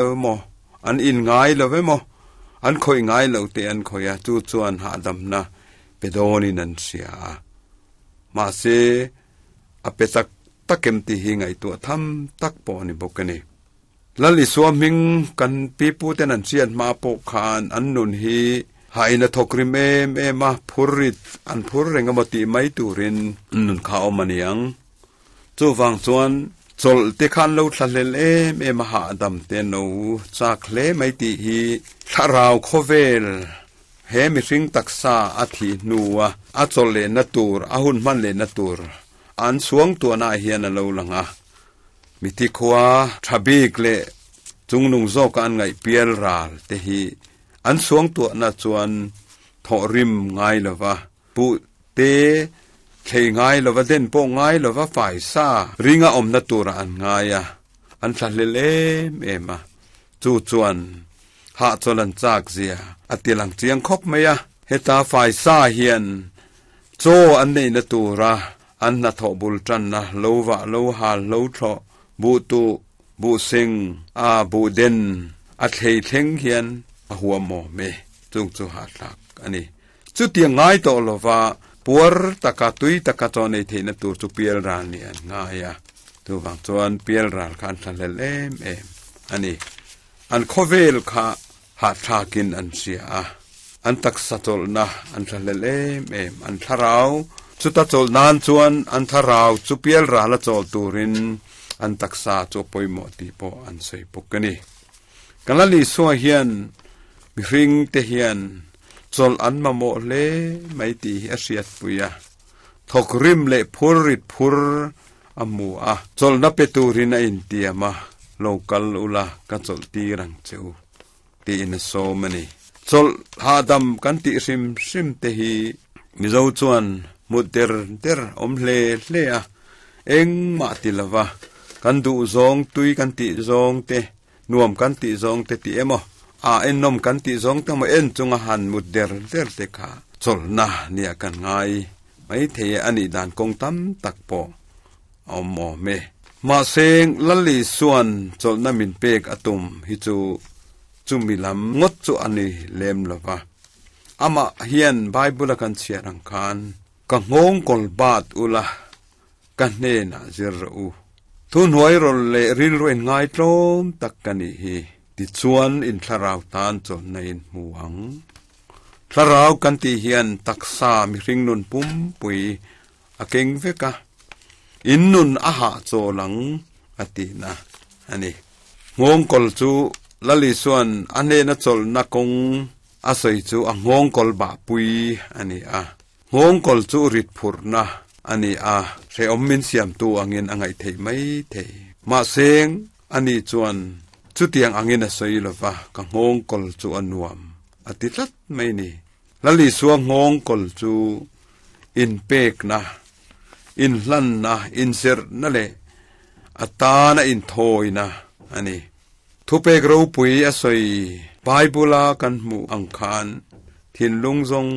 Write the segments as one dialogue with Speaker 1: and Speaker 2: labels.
Speaker 1: Emaw, an in ngai lo emaw, an khawih ngai lo teh an khawih a, chu chuan hahdamna pe dawnin an hria a. Mahse, a pe tak tak em tih hi ngaihtuah tham tak pawh a ni bawk a ni. Lal Isua hming kan piputen an hriat hma pawh khan an nun hi hain a thawk rim em em a, phur rit an phur reng emaw tih mai turin an nun kha a awm a ni ang. Chuvang chuan chawlh te khan lo thlahlel em em a hahdam te an lo chak hle mai tih hi thlarau khawvel he mihring taksa a thih hnua a chawlh lehna tur, a hun hman lehna tur an chhuang tuahnaah hian a lo lang a. Mithi khua tha bik leh chungnung zawka an ngaih pial ral te hi an chhuang tuahna chuan thawhrim ngai lova Puh te thlei ngai lova den pawh ngai lova faisa ringa awmna turah an ngai a, an thlahlel em em a. Chu chuan hahchawl an chak zia a ti lang chiang khawp mai a. Heta faisa hian chaw an neihna tura an hnathawh bul tanna lo vah lo hal lo thlawh buh tuh buh seng a buh den a thlei thleng hian a huam awm e. Chung chu hahthlak a ni. Chutiang ngai tawh lova puar taka tui taka chaw nei theihna tur chu pial ral nih an ngai a, chuvang chuan pial ral kha an thlahlel em em a ni. An khawvel kha hahthlakin an hria a, an taksa chawlhna an thlahlel em em, an thlarau chuta chawlh nan chuan an thlarau chu pial rala chawl turin an taksa chu a pawimawh tih pawh an sawi bawk a ni. Kan la Isua hian mihring te hian chawlh an mamawh hle mai tih hi a hriatpui a, thawk rim leh phur rit phur a hmu a, chawlhna pe turin a intiam a, lo kal ula ka chawlh tir ang che u tiin a sawm a ni. Chawlh hahdam kan tih hrim hrim te hi Mizo chuan hmu der der awm hle hle a, engmah ti lova kan duh zawng tui kan tih zawng te, nuam kan tih zawng te tih emaw, a ennawm kan tih zawng te emaw en chunga han mut der der te kha chawlhna nia kan ngai mai thei e, a nih dan kawng tam tak pawh a awm awm e. Mahse, Lali chuan chawlhna min pek a tum hi chu chumi lam ngawt chu a ni lem lova. Amah hian Bible a kan chhiar ang khan, Ka nghawng kawl bat ula, ka hnenah zir rawh u. Thuhnuai rawl leh rilru in ngaitlawm tak ka nih hi. Tichuan in thlarau tan chawlhna in hmu ang. Thlarau kan tih hian taksa mihring nun pumpui a keng vek a, in nun a hahchawl ang a tihna a ni. Nghawngkawl chu Lal Isua'n a hnena chawlhna kawng a sawi chu a nghawngkawl bahpui a ni a. Nghawngkawl chu rit phurhna a ni a, hrehawm min siamtu angin a ngaih theih mai thei. Mahse, ani chuan chutiang angin a sawi lo va, ka nghawngkawl chu a nuam a ti tlat mai ni. Lal Isua nghawngkawl chu inpekna, inhlanna, inzirhna leh a tana inthawina a ni. Thupek ropui a sawi Bible-a kan hmuh ang khan thinlung zawng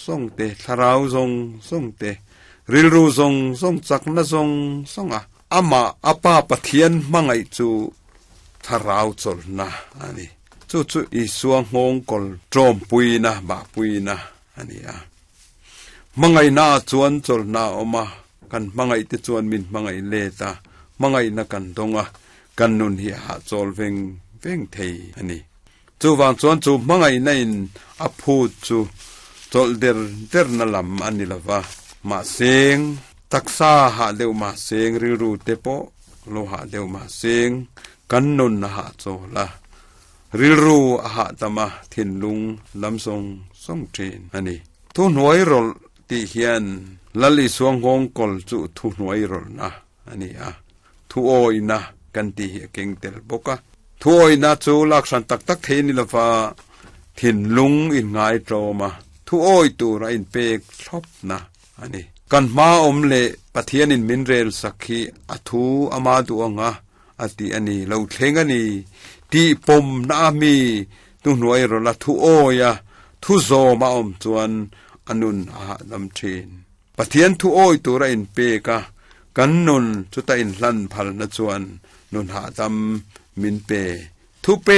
Speaker 1: zawng te, thlarau zawng zawng te, rilru zawng zawng, chakna zawng zawnga amah a Pa Pathian hmangaih chu thlarau chawlhna a ni. Chu chu Isua nghawngkawl ṭawmpuina, bahpuina a ni a. Hmangaihna ah chuan chawlhna a awm a, kan hmangaih te chuan min hmangaih let a, hmangaihna kan dawng a, kan nun hi a hahchawl veng veng thei a ni. Chuvang chuan chu hmangaihna in a phut chu chawlh der derna lam a ni lo va, mahseng taksa hah deuh mahseng rilru te pawh lo hah deuh mahseng kan nun a hahchawl a, rilru a hahdam a, thinlung lam zawng zawng thin a ni. Thuhnuai rawlh tih hian Lal Isua nghawngkawl chu thuhnuai rawlhna a ni a, thuawihna kan tih hi a keng tel bawk a. Thuawihna chu lak hran tak tak thei a ni lova, thinlung inngai tlawm a, thuawih tura inpek thlawpna a ni. Kan hma awm leh Pathianin min rel sak hi a thu ama duh ang a, a ti a ni, lo thleng a ni tih pawmna a mi thuhnuai rawlh a, thuawi a, thu zawm a awm chuan a nun a hahdam thin. Pathian thuawi tura inpek a, kan nun chuta inhlan phalna chuan nun hahdam min pe. Thupe.